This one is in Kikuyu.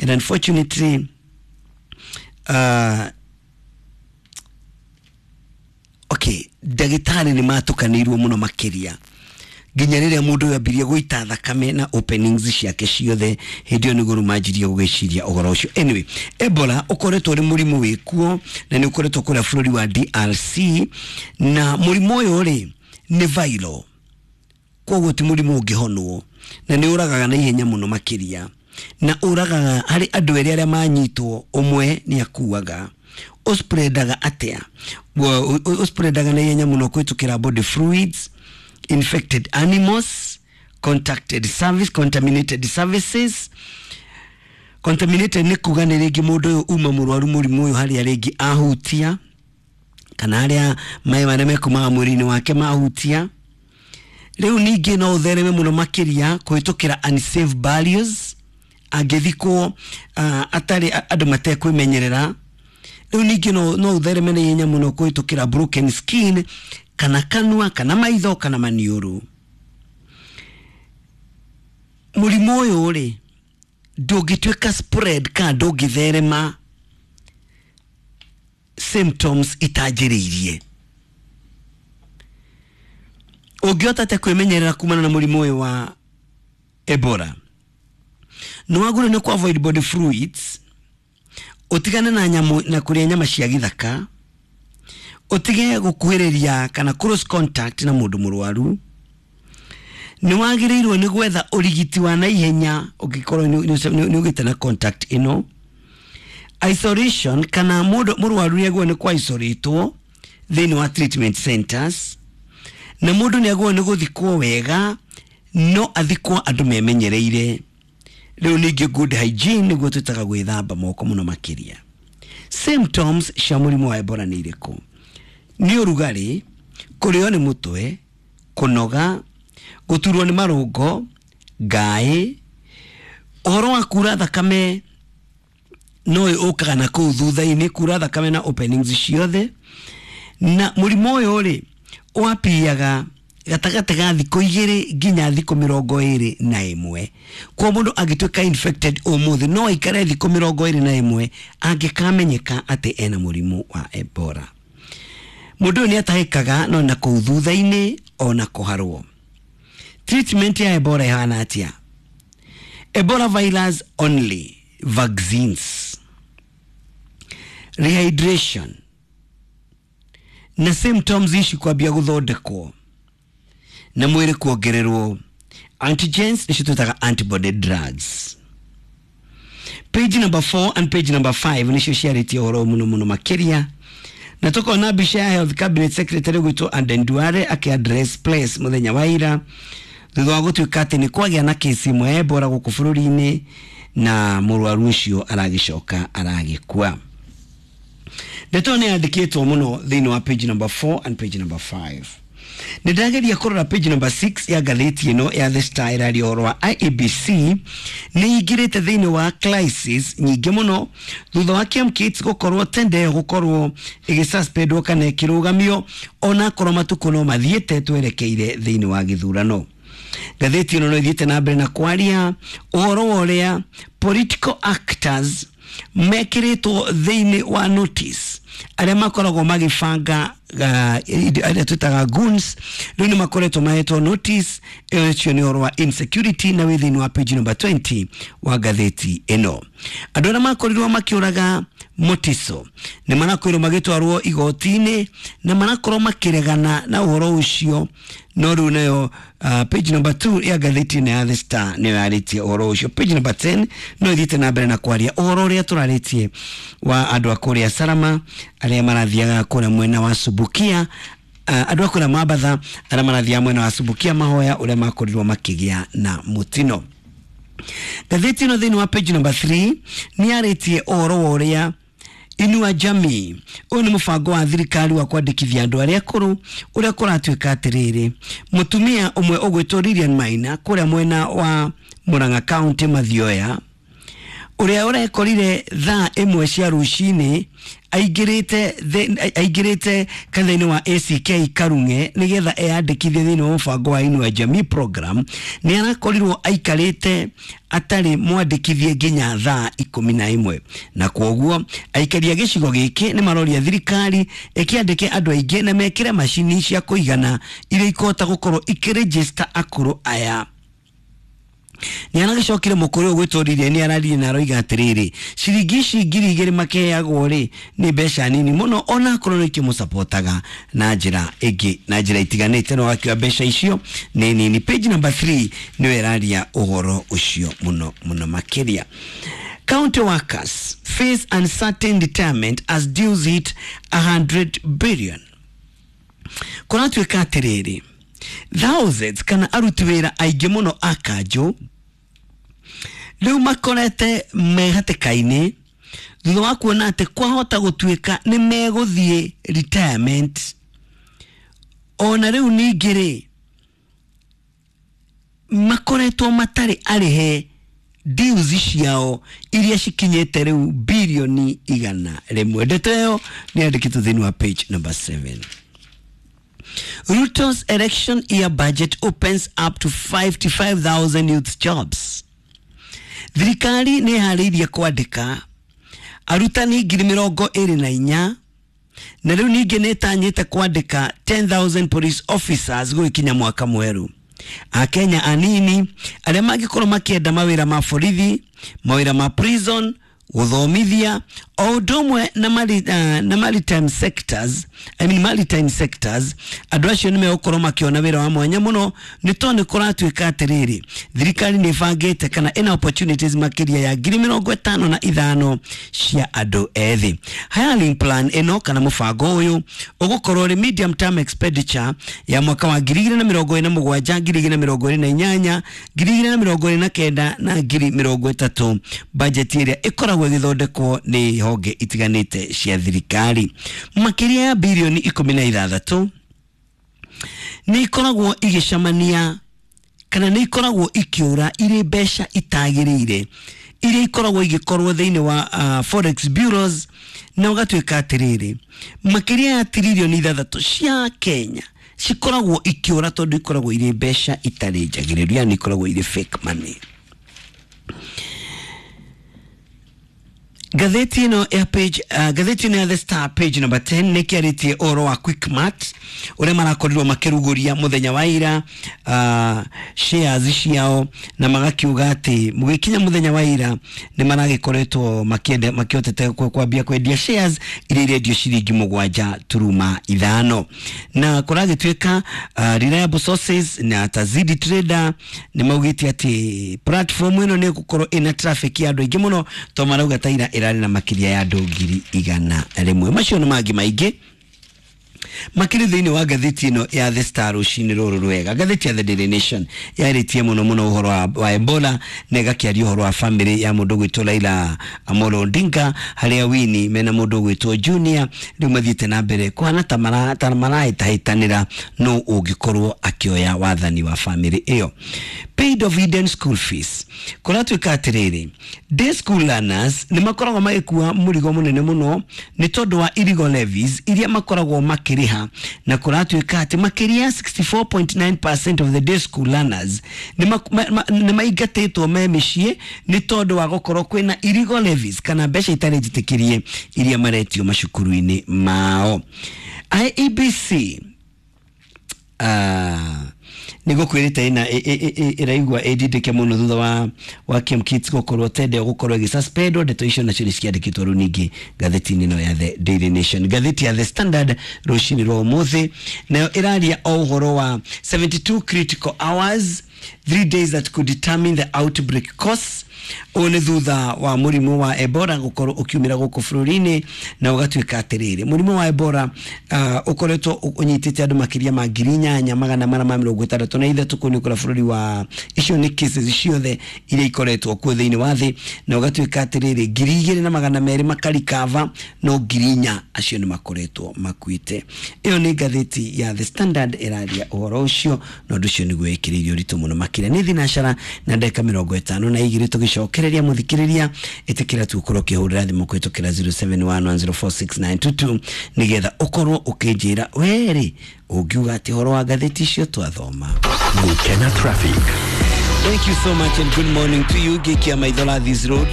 And unfortunately, okay, ndagĩtarĩ nĩ matukanĩirwo mũno makĩria nginya rĩrĩa mũndũ ũyũ ambirie gũita thakame na openings ciake ciothe, hĩndĩ ĩyo nĩguo rĩu manjirie gũgĩciria ũhoro ũcio. Anyway, Ebola ũkoretwo ũrĩ mũrimũ wĩkuo na nĩ ũkoretwo kũrĩa bũrũri wa DRC, na mũrimũ ũyũ rĩ nĩ viral, koguo ti mũrimũ ũngĩhonwo, na nĩ ũragaga na ihenya mũno makĩria, na ũragaga harĩ andũ erĩ arĩa manyitwo ũmwe nĩ akuaga. Ũspreadaga atĩa? Ũspreadaga na ihenya mũno kũhĩtũkĩra body fluids, infected animals, contacted service, contaminated services. Contaminated nĩ kuga nĩ rĩngĩ mũndũ ũyũ uma mũrwaru mũrimũ ũyũ harĩa rĩngĩ ahutia, kana harĩa maĩ marĩa mekumaga mwĩrĩ-inĩ wake mahutia. Rĩu ningĩ no ũthereme mũno makĩria kũhĩtũkĩra unsafe barriers, angĩthikwo atarĩ andũ matekwĩmenyerera. Rĩu ningĩ no ũthereme na ihenya mũno kũhĩtũkĩra broken skin, kana kanua, kana maitho, kana maniũrũ. Mũrimũ ũyũ rĩ ndũngĩtuĩka spread kana ndũngĩtherema symptoms itanjĩrĩirie. Ũngĩhota atĩa kwĩmenyerera kumana na mũrimũ ũyũ wa Ebola? Nĩ wagĩrĩirwo nĩ kũ avoid body fluids, ũtigane na nyamũ na kũrĩa nyama cia gĩthaka, ũtige gũkuhĩrĩria kana close contact na mũndũ mũrwaru. Nĩ wagĩrĩirwo nĩ gwetha ũrigiti wa naihenya ũngĩkorwo nĩ ũgĩte na contact ĩno. Isolation, kana mũndũ mũrwaru nĩ agĩrĩirwo nĩ kũ isolatwo thĩinĩ wa treatment centers, na mũndũ nĩ agĩrĩirwo nĩ gũthikwo wega, no athikwo andũ memenyereire. Rĩu ningĩ good hygiene nĩguo twĩtaga gwĩthamba moko mũno makĩria. Symptoms cia mũrimũ wa Ebola nĩ irĩkũ? Nĩ ũrugarĩ, kũrĩo nĩ mũtwe, kũnoga, gũturwo nĩ marũngo, ngaĩ, ũhoro wa kura thakame no ũkaga na kũu thutha-inĩ, kura thakame na openings ciothe. Na mũrimũ ũyũ rĩ wapiaga gatagatĩ ga thikũ 2 nginya thikũ 21. Kwa mũndũ angĩtuĩka infected ũmũthĩ no aikare thikũ 21 angĩkamenyeka atĩ ena mũrimũ wa Ebola. Mũndũ ũyũ nĩ atahĩkaga no na kũu thutha-inĩ ona kũharwo. Treatment ya Ebola ĩhana atĩa? Ebola virus only, vaccines, rehydration, na symptoms ici kwambia gũthondekwo na mwĩrĩ kuongererwo antigens, nĩcio twĩtaga antibody drugs. Page number 4 and page number 5 nĩcio ciarĩtie ũhoro mũno mũno makĩria, na tũkona mbica ya Health Cabinet Secretary gwĩtwo Aden Duale akĩ-address place mũthenya wa ira thutha wa gũtuĩka atĩ nĩ kwagĩa na kesi ĩmwe ya Ebola gũkũ bũrũri-inĩ, na mũrwaru ũcio aragĩcoka aragĩkua. Ndeto nĩ yandĩkĩtwo mũno thĩinĩ wa page number 4 and page number 5. Nĩ ndageria kũrora page number 6 ya ngathĩti ĩno ya The Star, ĩraria ũhoro wa IEBC nĩ ingĩrĩte thĩinĩ wa crisis nyingĩ mũno thutha wa KMKITS gũkorwo tender ĩyo gũkorwo ĩgĩsuspendwo kana ĩkĩrũgamio, onakorwo matukũ no mathiĩte twerekeire thĩinĩ wa gĩthurano. Ngathĩti ĩno no ĩthiĩte na mbere na kwaria ũhoro wa ũrĩa political actors mekĩrĩtwo thĩinĩ wa notice, arĩa makoragwo magĩbanga arĩa twĩtaga goons, rĩu nĩ makoretwo mahetwo notice. Ĩyo ũcio nĩ ũhoro wa insecurity na wĩ thĩinĩ wa page number 20 wa ngathĩti ĩno. Andũ arĩa makorirwo makĩũraga Mutiso nĩ marakorirwo magĩtwarwo igoti-inĩ na marakorwo makĩregana na ũhoro ũcio, no rĩu nayo page number 2 ya ngathĩti ĩno ya The Star nĩyo yarĩtie ũhoro ũcio. Page number 10 no ĩthiĩte na mbere na kwaria ũhoro ũrĩa tũrarĩtie wa andũ a kũrĩa Salama arĩa marathiaga kũrĩa mwena wa Subukia, andũ a kũrĩa Mambatha arĩa marathiaga mwena wa Subukia mahoya ũrĩa makorirwo makĩgĩa na mũtino. Ngathĩti ĩno thĩinĩ wa page number 3 nĩ yarĩtie ũhoro wa ũrĩa Inua Jamii, ũyũ nĩ mũbango wa thirikari wa kwandĩkithia andũ arĩa akũrũ, ũrĩa kũratuĩka atĩrĩrĩ, mũtumia ũmwe ũgwĩtwo Lilian Maina kũrĩa mwena wa Murang'a County Mathioya Ũrĩa ũrekorire thaa 1 cia rũcinĩ aingĩrĩte kanitha-inĩ wa ACK Karung'e nĩgetha eyandĩkithie thĩinĩ wa mũbango wa Inua Jamii program, nĩ arakorirwo aikarĩte atarĩ mwandĩkithie nginya thaa 11, na kwoguo aikari a gĩcigo gĩkĩ nĩ maroria thirikari ĩkĩandĩke andũ aingĩ na mekĩre macini cia kũigana iria ikũhota gũkorwo ikĩrĩnjĩsta akũrũ aya. Nĩ aragĩcokire mũkũrũ ũyũ gwĩtũririe nĩ araririe na aroiga atĩrĩrĩ, ciringi ici 2000 makeheagwo rĩ nĩ mbeca nini mũno, ona akorwo nĩ ikĩmũcapotaga na njĩra ĩngĩ na njĩra itiganĩte, no akiuga mbeca icio nĩ nini. Page number 3 nĩyo ĩraria ũhoro ũcio mũno mũno makĩria. County workers face uncertain retirement as dues hit 100 billion. Kũratuĩka atĩrĩrĩ, thousands kana aruti wĩra aingĩ mũno a kanjũ rĩu makorete me hatĩka-inĩ thutha wa kuona atĩ kwahota gũtuĩka nĩ megũthiĩ retirement. Ona rĩu ningĩ rĩ, makoretwo matarĩ arĩhe dues ciao iria cikinyĩte rĩu birioni 100. Ndeto ĩyo nĩ yandĩkĩtwo thĩinĩ wa page number 7. Ruto's election year budget opens up to 55,000 youth jobs. Thirikari nĩ ĩharĩirie kwandĩka arutani 24,000, na rĩu ningĩ nĩ ĩtanyĩte kwandĩka 10,000 police officers gũgĩkinya mwaka mwerũ. Akenya anini arĩa mangĩkorwo makĩenda mawĩra ma borithi, mawĩra ma prison, gũthomithia, o ũndũ ũmwe na maritime sectors, I mean maritime sectors, andũ acio nĩ megũkorwo makĩona wĩra wa mwanya mũno, nĩ tondũ nĩ kũratuĩka atĩrĩrĩ, thirikari nĩ ĩbangĩte kana ĩna opportunities makĩria ya 55,000 cia andũ ethĩ. Hiring plan ĩno kana mũbango ũyũ ũgũkorwo ũrĩ medium term expenditure ya mwaka wa 2027, 2028, 2029 na 2030, budget ĩrĩa ĩkoragwo ĩgĩthondekwo nĩ honge itiganĩte cia thirikari. Makĩria ya birioni 16 nĩ ikoragwo igĩcemania kana nĩ ikoragwo ikĩũra irĩ mbeca itagĩrĩire iria ikoragwo igĩkorwo thĩinĩ wa forex bureaus, na ũgatuĩka atĩrĩrĩ, makĩria ya tiririoni 6 cia Kenya cikoragwo ikĩũra tondũ ikoragwo irĩ mbeca itarĩ njagĩrĩru, yani ikoragwo irĩ fake money. Ngathĩti ĩno ya page ngathĩti ĩno ya The Star page number 10 nĩ kĩarĩtie ũhoro wa Quickmart ũrĩa marakorirwo makĩrugũria mũthenya wa ira shares ciao, na magakiuga atĩ mũgĩkinya mũthenya wa ira nĩ maragĩkoretwo makĩhotete kwambia kwendia shares iria irendio ciringi 7.5, na kũragĩtuĩka reliable sources na Tazidi Trader nĩ maugĩte atĩ platform ĩno nĩ ĩgũkorwo ĩna traffic ya andũ aingĩ mũno, tondũ marauga ta ira ĩrarĩ na makĩria ya andũ 100,000. Macio nĩ mangĩ maingĩ makĩrĩ thĩinĩ wa ngathĩti ĩno ya The Star rũcinĩ rũrũ rwega. Ngathĩti ya The Daily Nation yarĩtie mũno mũno ũhoro wa Ebola, na ĩgakĩaria ũhoro wa family ya mũndũ ũgwĩtwo Raila Amolo Odinga, harĩa Winnie mena mũndũ ũgwĩtwo Junior rĩu mathiĩte na mbere kũhana ta marahĩtahĩtanĩra no ũngĩkorwo akĩoya wathani wa family ĩyo. Paid of Eden school fees, kũratuĩka atĩrĩrĩ, day school learners nĩ makoragwo magĩkua mũrigo mũnene mũno nĩ tondũ wa illegal levies iria makoragwo makĩrĩha, na kũratuĩka atĩ makĩria 64.9% of the day school learners nĩ maingatĩtwo me mĩciĩ nĩ tondũ wa gũkorwo kwĩna illegal levies kana mbeca itarĩ njĩtĩkĩrie iria maretio macukuru-inĩ mao. IEBC nĩ gũkwĩrĩte ĩna ĩraigua ĩndindĩke mũno thutha wa Kemkits gũkorwo tende gũkorwo ĩgĩsuspendwo. Ndeto icio nacio nĩ ciandĩkĩtwo rĩu ningĩ ngathĩti-inĩ ĩno ya The Daily Nation. Ngathĩti ya The Standard rũcinĩ rwa ũmũthĩ nayo ĩraria o ũhoro wa 72 critical hours, 3 days that could determine the outbreak course. Ũyũ nĩ thutha wa mũrimũ wa Ebola gũkorwo ũkiumĩra gũkũ bũrũri-inĩ, na ũgatuĩka atĩrĩrĩ, mũrimũ wa Ebola ũkoretwo ũnyitĩte andũ makĩria ma 8463 kũu nĩ kũrĩa bũrũri wa, icio nĩ cases ciothe iria ikoretwo kuo thĩinĩ wa thĩ, na ũgatuĩka atĩrĩrĩ, 2200 makarikava, no 4000 acio nĩ makoretwo makuĩte. Ĩyo nĩ ngathĩti ya The Standard ĩraria ũhoro ũcio, na ũndũ ũcio nĩguo ĩkĩrĩirie ũritũ mũno. Mũno makĩria nĩ thinacara na ndagĩka 52 tũgĩcokereria mũthikĩrĩria ĩtĩkĩra tu ũkorwo ũkĩhũrĩra thimũ kũhĩtũkĩra 0711046922 nĩgetha ũkorwo ũkĩnjĩra werĩ ũngiuga atĩ ũhoro wa ngathĩti icio twathoma. Gukena Traffic. Thank you so much and good morning to you. Gĩkia maitho Lathis Road.